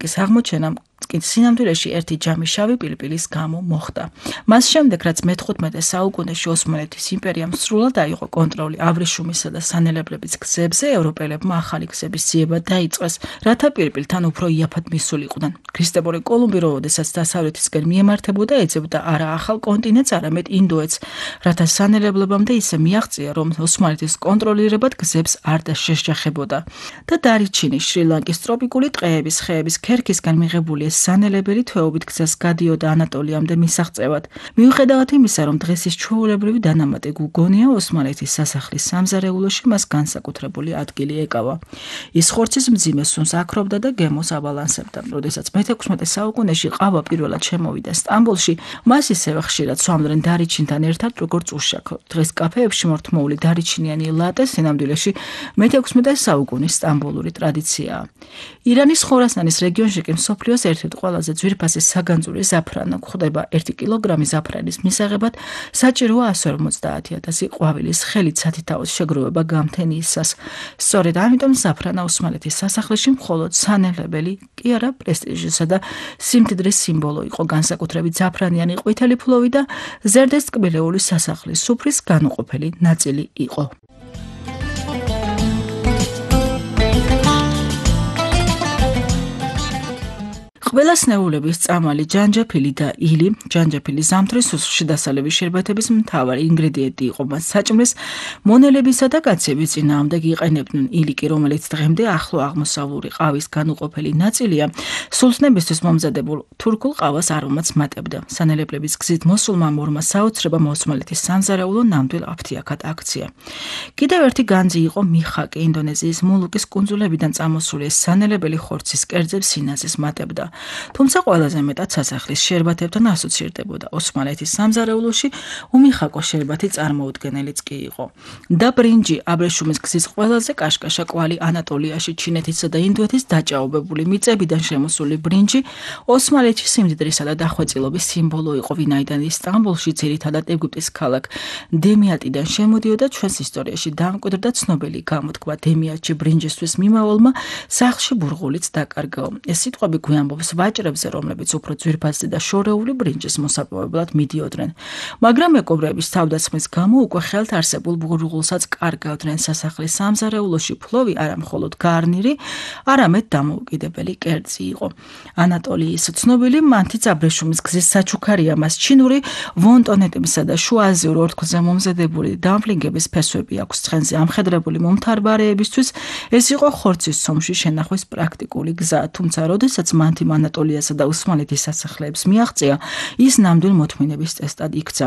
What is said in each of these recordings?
ტექნიკის აღმოჩენამ კი სინამდვილეში ერთი ჯამი შავი პილპილის გამო მოხდა. მას შემდეგ, რაც მე-15 საუკუნეში ოსმალეთის იმპერიამ სრულად აიღო კონტროლი აბრეშუმისა და სანელებლების გზებზე, ევროპელებმა ახალი გზების ძიება დაიწყეს, რათა პირპილთან უფრო იაფად მისულიყვნენ. ქრისტეფორე კოლუმბი, როდესაც დასავლეთისკენ მიემართებოდა, ეძებდა არა ახალ კონტინენტს, არამედ ინდოეთს, რათა სანელებლებამდე ისე მიაღწია, რომ ოსმალეთის კონტროლირებად გზებს არ შეშჯახებოდა. და დარიჩინი შრი-ლანკის ტროპიკული ტყეების, ხეების ქერქისგან მიღებული სანელებელი თვეობით გზას გადიოდა ანატოლიამდე მისაღწევად. მიუხედავად იმისა, რომ დღეს ის ჩვეულებრივი დანამატი გუგონია, ოსმალეთის სასახლის სამზარეულოში მას განსაკუთრებული ადგილი ეკავა. ის ხორცის მძიმე სუნს აქრობდა და გემოს აბალანსებდა. როდესაც მე-16 საუკუნეში ყავა პირველად შემოვიდა სტამბოლში, მას ისევე ხშირად სვამდნენ დარიჩინთან ერთად, როგორც უშაქრო. დღეს კაფეებში მორთმოული დარიჩინიანი ლატე სინამდვილეში მე-16 საუკუნის სტამბოლური ტრადიციაა. ირანის ხორასანის რეგიონში კი მსოფლიოს ერთ-ერთი ყველაზე ძვირფასი საგანძური ზაფრანი გვხვდება. 1 კილოგრამი ზაფრანის მისაღებად საჭიროა 150.000 ყვავილის ხელით სათითაოს შეგროვება გამთენიისას. სწორედ ამიტომ ზაფრანა ოსმალეთის სასახლეში მხოლოდ სანელებელი კი არა პრესტიჟისა და სიმდიდრის სიმბოლო იყო. განსაკუთრებით ზაფრანიანი ყვითელი ფლოვი და ზერდეს ტკბილეული სასახლის სუფრის განუყოფელი ნაწილი იყო. ყველა სნეულების წამალი ჯანჯაფილი და ილი, ჯანჯაფილი ზამთრის სუსხლში დასალების შერბეთების მთავარი ინგრედიენტი იყო. მას საჭმლის მონელებისა და კაცების წინააღმდეგ იყენებდნენ. ილი კი, რომელიც დღემდე ახლო აღმოსავლური ყავის განუყოფელი ნაწილია, სულთნებისთვის მომზადებულ თურქულ ყავას არომატს მატებდა. სანელებლების გზით მოსულმა მორმა საოცრებამ ოსმალეთის სამზარეულო ნამდვილ აფთიაქად აქცია. კიდევ ერთი განძი იყო მიხაკი. ინდონეზიის მოლუკის კუნძულებიდან წამოსული ეს სანელებელი ხორცის კერძებს სინაზის მატებდა. თუმცა ყველაზე მეტად სასახლის შერბათებთან ასოცირდებოდა. ოსმალეთის სამზარეულოში უმიხაკო შერბათი წარმოუდგენელიც კი იყო. და ბრინჯი, აბრეშუმის გზის ყველაზე კაშკაშა კვალი ანატოლიაში, ჩინეთისა და ინდოეთის დაჭაობებული მიწებიდან შემოსული ბრინჯი ოსმალეთის სიმდიდრისა და დახვეწილობის სიმბოლო იყო. ვინაიდან სტამბოლში ძირითადად ეგვიპტის ქალაქ დემიატიდან შემოდიოდა, ჩვენს ისტორიაში დამკვიდრდა ცნობილი გამოთქმა დემიატში ბრინჯისთვის მიმავალმა სახლში ბურღულიც დაკარგაო. ეს სიტყვები გვიამბობს ვაჭრებზე, რომლებიც უფრო ძვირფასი და შორეული ბრინჯის მოსაპოვებლად მიდიოდნენ. მაგრამ მეკობრეების თავდასხმის გამო უკვე ხელთ არსებულ ბურღულსაც კარგავდნენ. სასახლის სამზარეულოში ფლოვი არა მხოლოდ გარნირი, არამედ დამოუკიდებელი კერძი იყო. ანატოლიის ცნობილი მანთიც აბრეშუმის გზის საჩუქარია. მას ჩინური ვონტონეტებისა და შუა აზიურ ორთქლზე მომზადებული დამფლინგების ფესვები აქვს. ცხენზე ამხედრებული მომთარბარეებისთვის ეს იყო ხორცის სომში შენახვის პრაქტიკული გზა. თუმცა როდესაც მანთი ანატოლიასა და ოსმალეთის სასახლეებს მიაღწია, ის ნამდვილ მოთმინების წესად იქცა.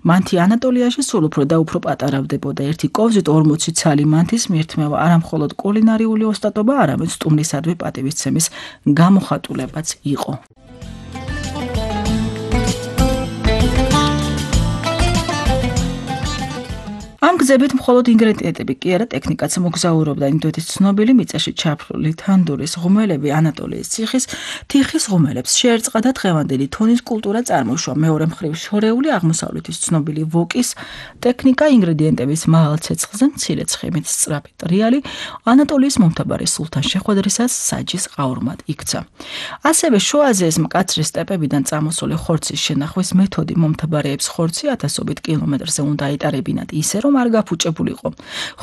მანთი ანატოლიაში სულ უფრო და უფრო პატარავდებოდა. ერთი კოვზით 40 ცალი მანთის მირთმევა არა მხოლოდ კულინარიული ოსტატობა, არამედ სტუმრისადმი პატივისცემის გამოხატულებაც იყო. ამ გზებით მხოლოდ ინგრედიენტები კი არა, ტექნიკაც მოგზაურობდა. ინდოეთის ცნობილი მიწაში ჩაფლული თანდურის ღუმელები ანატოლიის თიხის ღუმელებს შეერწყა და დღევანდელი თონის კულტურა წარმოშვა. მეორე მხრივ შორეული აღმოსავლეთის ცნობილი ვოკის ტექნიკა ინგრედიენტების მაღალ ცეცხლზე მცირე ცხიმით სწრაფი ტრიალი ანატოლიის მომთაბარე სულთან შეხვედრისას საჯის ყაურმად იქცა. ასევე შუა აზიის მკაცრი სტეპებიდან წამოსული ხორცის შენახვის მეთოდი მომთაბარეებს ხორცი 1000 კილომეტრზე უნდა ეტარებინათ ისე, რომ არ გაფუჭებულიყო.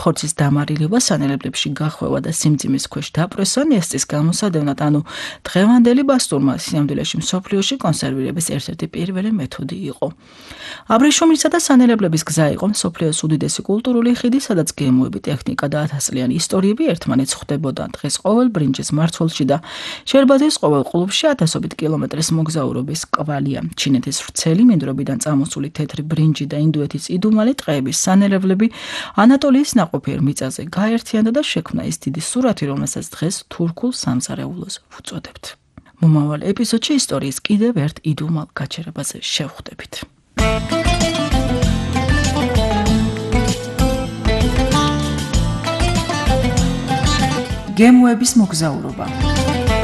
ხორცის დამარილება სანელებლებში გახვევა და სიმძიმის ქვეშ დაპრესვა ნესტის გამოსადევნად, ანუ დღევანდელი ბასტურმა სინამდვილეში მსოფლიოში კონსერვირების ერთ-ერთი პირველი მეთოდი იყო. აბრეშუმისა და სანელებლების გზა იყო მსოფლიოს უდიდესი კულტურული ხიდი, სადაც გემოები, ტექნიკა და 1000-წლიანი ისტორიები ერთმანეთს ხვდებოდა. დღეს ყოველ ბრინჯის მმართველში და შერბათის ყოველ კლუბში 1000 კილომეტრის მოგზაურობის კვალია. ჩინეთის ვრცელი მინდვრებიდან წამოსული თეთრი ბრინჯი და ინდოეთის იდუმალი ტყეების სანელებლები ანატოლიის ნაყოფიერ მიწაზე გაერთიანდა და შექმნა ის დიდი სურათი, რომელსაც დღეს თურქულ სამზარეულოს ვუწოდებთ. მომავალ ეპიზოდში ისტორიის კიდევ ერთ იდუმალ გაჩერებაზე შევხვდებით. გემოების მოგზაურობა.